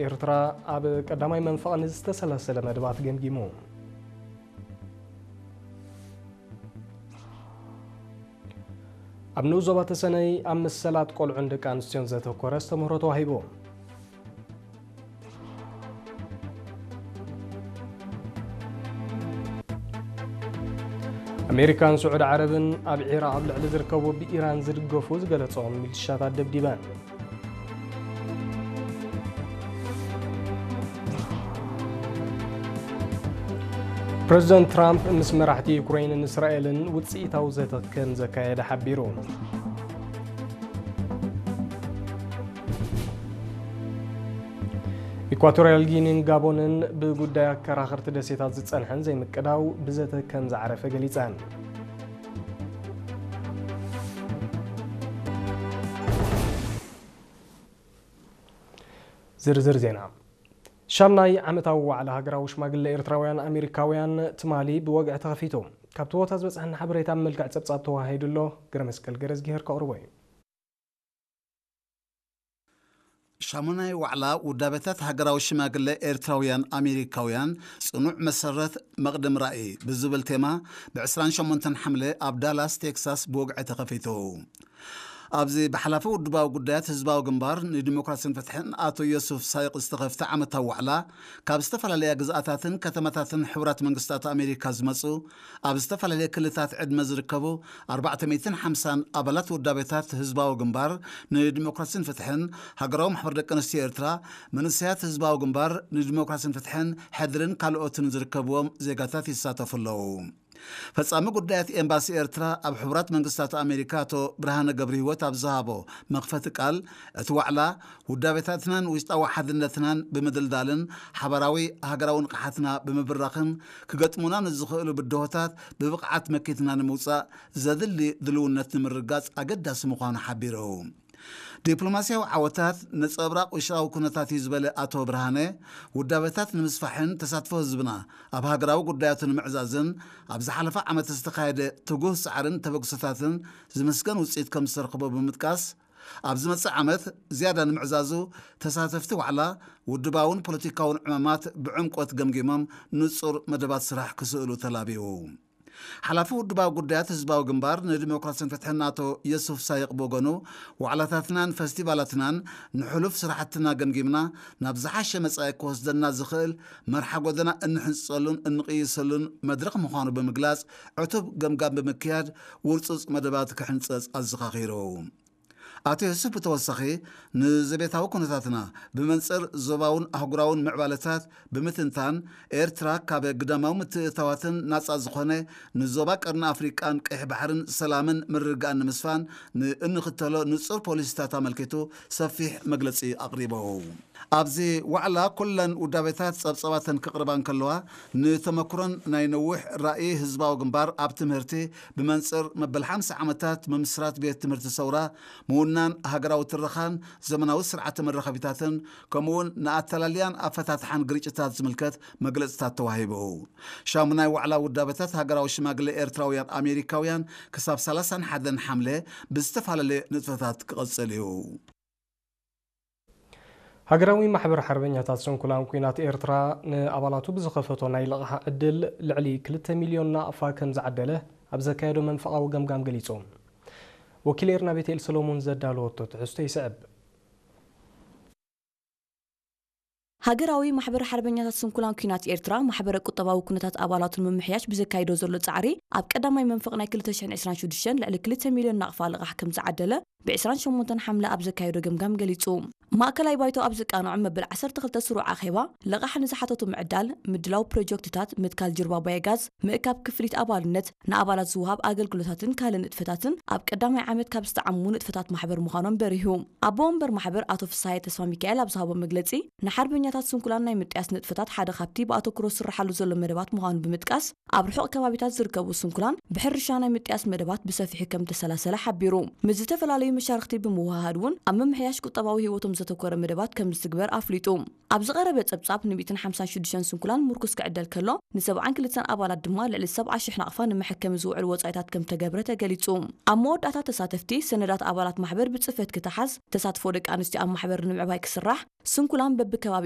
ኤርትራ ኣብ ቀዳማይ መንፈቕ ንዝተሰላሰለ መደባት ገምጊሙ። ኣብ ንኡስ ዞባ ተሰነይ ኣብ መሰላት ቆልዑን ደቂ ኣንስትዮን ዘተኮረ ኣስተምህሮ ተዋሂቡ። ኣሜሪካን ስዑዲ ዓረብን ኣብ ዒራቕ ኣብ ልዕሊ ዝርከቡ ብኢራን ዝድገፉ ዝገለጾም ሚሊሻታት ደብዲበን። ፕረዚደንት ትራምፕ ምስ መራሕቲ ዩክረይንን እስራኤልን ውጽኢታዊ ዘተ ከም ዘካየደ ሓቢሩ። ኢኳቶርያል ጊኒን ጋቦንን ብጉዳይ ኣከራኸርቲ ደሴታት ዝጸንሐን ዘይምቅዳው ብዘተ ከም ዝዓረፈ ገሊጸን። ዝርዝር ዜና። ሻምናይ ዓመታዊ ዋዕላ ሃገራዊ ሽማግለ ኤርትራውያን ኣሜሪካውያን ትማሊ ብወግዒ ተኸፊቱ። ካብቲ ቦታ ዝበጽሐና ሓበሬታ ኣብ መልክዕ ጸብጻብ ተዋሂዱ ኣሎ። ገረመስቀል ገረዝጊሄር ከቕርቦ እዩ። ሻሙናይ ዋዕላ ውዳበታት ሃገራዊ ሽማግለ ኤርትራውያን ኣሜሪካውያን ጽኑዕ መሰረት መቕድም ራእይ ብዝብል ቴማ ብ ዕስራን ሸሞንተን ሓምለ ኣብ ዳላስ ቴክሳስ ብወግዒ ተኸፊቱ። ኣብዚ ብሓላፊ ውድባዊ ጉዳያት ህዝባዊ ግንባር ንዲሞክራሲን ፍትሕን ኣቶ ዮሱፍ ሳይቕ ዝተኸፍተ ዓመታዊ ዋዕላ ካብ ዝተፈላለያ ግዝኣታትን ከተማታትን ሕቡራት መንግስታት ኣሜሪካ ዝመጹ ኣብ ዝተፈላለየ ክልታት ዕድመ ዝርከቡ ኣርባዕተ ሚእትን ሓምሳን ኣባላት ውዳቤታት ህዝባዊ ግንባር ንዲሞክራሲን ፍትሕን፣ ሃገራዊ ማሕበር ደቂ ኣንስትዮ ኤርትራ፣ መንእሰያት ህዝባዊ ግንባር ንዲሞክራሲን ፍትሕን፣ ሕድርን ካልኦትን ዝርከብዎም ዜጋታት ይሳተፉ ኣለዉ። ፈጻሚ ጉዳያት ኤምባሲ ኤርትራ ኣብ ሕቡራት መንግስታት ኣሜሪካ ኣቶ ብርሃነ ገብረህይወት ኣብ ዝሃቦ መኽፈቲ ቃል፣ እቲ ዋዕላ ውዳቤታትናን ውሽጣዊ ሓድነትናን ብምድልዳልን ሓባራዊ ሃገራዊ ንቕሓትና ብምብራኽን ክገጥሙና ንዝኽእሉ ብድሆታት ብብቕዓት መኪትና ንምውጻእ ዘድሊ ድልውነት ንምርጋጽ ኣገዳሲ ምዃኑ ሓቢሩ። ዲፕሎማስያዊ ዓወታት ነጸብራቕ ውሽጣዊ ኩነታት እዩ ዝበለ ኣቶ ብርሃነ፣ ውዳበታት ንምስፋሕን ተሳትፎ ህዝብና ኣብ ሃገራዊ ጉዳያቱ ንምዕዛዝን ኣብ ዝሓለፈ ዓመት ዝተኻየደ ትጉህ ጻዕርን ተበግሶታትን ዝምስገን ውጽኢት ከም ዝተረኽቦ ብምጥቃስ፣ ኣብ ዝመጽእ ዓመት ዝያዳ ንምዕዛዙ ተሳተፍቲ ዋዕላ ውድባውን ፖለቲካውን ዕማማት ብዕምቆት ገምጊሞም ንጹር መደባት ስራሕ ክስእሉ ተላብዩ። ሓላፊ ውድባዊ ጉዳያት ህዝባዊ ግንባር ንዲሞክራሲን ፍትሕን ኣቶ የሱፍ ሳይቕ ብወገኑ፣ ዋዕላታትናን ፈስቲቫላትናን ንሕሉፍ ስራሕትና ገምጊምና ናብ ዝሓሸ መጻኢ ክወስደና ዝኽእል መርሓ ጎደና እንሕንጸሉን እንቕይሰሉን መድረኽ ምዃኑ ብምግላጽ፣ ዕቱብ ገምጋም ብምክያድ ውርጹጽ መደባት ክሕንጸጽ ኣዘኻኺሩ። ኣቶ የሱፍ ብተወሳኺ ንዘቤታዊ ኩነታትና ብመንጽር ዞባውን ኣህጉራውን ምዕባለታት ብምትንታን፣ ኤርትራ ካብ ግዳማዊ ምትእትታዋትን ናጻ ዝኾነ ንዞባ ቀርኒ ኣፍሪቃን ቀይሕ ባሕርን ሰላምን ምርግጋእን ንምስፋን ንእንኽተሎ ንጹር ፖሊሲታት ኣመልኪቱ ሰፊሕ መግለጺ ኣቕሪቡ። ኣብዚ ዋዕላ ኩለን ውዳቤታት ጸብጸባተን ክቕርባ እንከለዋ፣ ንተመክሮን ናይ ነዊሕ ራእይ ህዝባዊ ግንባር ኣብ ትምህርቲ ብመንጽር መበል ሓምሳ ዓመታት ምምስራት ቤት ትምህርቲ ሰውራ፣ ምውናን ሃገራዊ ትረኻን ዘመናዊ ስርዓተ መራኸቢታትን፣ ከምኡውን ንኣተላልያን ኣፈታትሓን ግርጭታት ዝምልከት መግለጽታት ተዋሂቡ። ሻሙናይ ዋዕላ ውዳበታት ሃገራዊ ሽማግለ ኤርትራውያን ኣሜሪካውያን ክሳብ ሰላሳን ሓደን ሓምለ ብዝተፈላለየ ንጥፈታት ክቐጽል እዩ። ሃገራዊ ማሕበር ሓርበኛታት ስንኩላን ኲናት ኤርትራ ንኣባላቱ ብዝኸፈቶ ናይ ልቓሕ ዕድል ልዕሊ ክልተ ሚልዮን ናቕፋ ከም ዝዓደለ ኣብ ዘካየዶ መንፈቓዊ ገምጋም ገሊጹ። ወኪል ኤርና ቤተኤል ሰሎሞን ዘዳለወቶ ትሕዝቶ ይስዕብ። ሃገራዊ ማሕበር ሓርበኛታት ስንኩላን ኲናት ኤርትራ፣ ማሕበረ ቁጠባዊ ኩነታት ኣባላቱ ንምምሕያሽ ብዘካይዶ ዘሎ ጻዕሪ፣ ኣብ ቀዳማይ መንፈቕ ናይ ክልተ ሽሕን ዕስራን ሽዱሽተን ልዕሊ ክልተ ሚልዮን ናቕፋ ልቓሕ ከም ዝዓደለ፣ ብ ዕስራን ሸሞንተን ሓምለ ኣብ ዘካየዶ ገምጋም ገሊጹ። ማእከላይ ባይቶ ኣብ ዘቃንዖ መበል ዓሰርተ ክልተ ስሩዕ ኣኼባ፣ ልቓሕ ንዝሓተቱ ምዕዳል፣ ምድላው ፕሮጀክትታት፣ ምትካል ጅርባ ባዮጋዝ፣ ምእካብ ክፍሊት ኣባልነት፣ ንኣባላት ዝወሃብ ኣገልግሎታትን ካልእ ንጥፈታትን ኣብ ቀዳማይ ዓመት ካብ ዝተዓሙ ንጥፈታት ማሕበር ምዃኖም በሪሁ። ኣቦ ወንበር ማሕበር ኣቶ ፍስሃየ ተስፋ ሚካኤል ኣብ ዝሃቦ መግለጺ፣ ንሓርበኛታት ስንኩላን ናይ ምጥያስ ንጥፈታት ሓደ ካብቲ ብኣተኩሮ ዝስራሓሉ ዘሎ መደባት ምዃኑ ብምጥቃስ፣ ኣብ ርሑቕ ከባቢታት ዝርከቡ ስንኩላን ብሕርሻ ናይ ምጥያስ መደባት ብሰፊሑ ከም ተሰላሰለ ሓቢሩ። ምስ ዝተፈላለዩ መሻርክቲ ብምውህሃድ እውን ኣብ ምምሕያሽ ቁጠባዊ ህይወቶም ዘተኮረ መደባት ከም ዝትግበር ኣፍሊጡ። ኣብ ዝቐረበ ጸብጻብ ን ሚእትን ሓምሳን ሽዱሽተን ስንኩላን ምርኩስ ክዕደል ከሎ፣ ን ሰብዓን ክልተን ኣባላት ድማ ልዕሊ ሰብዓ ሽሕ ናቕፋ ንመሐከሚ ዝውዕል ወጻኢታት ከም ተገብረ ተገሊጹ። ኣብ መወዳእታ ተሳተፍቲ፣ ሰነዳት ኣባላት ማሕበር ብጽፈት ክተሓዝ፣ ተሳትፎ ደቂ ኣንስትዮ ኣብ ማሕበር ንምዕባይ ክስራሕ፣ ስንኩላን በብከባቢ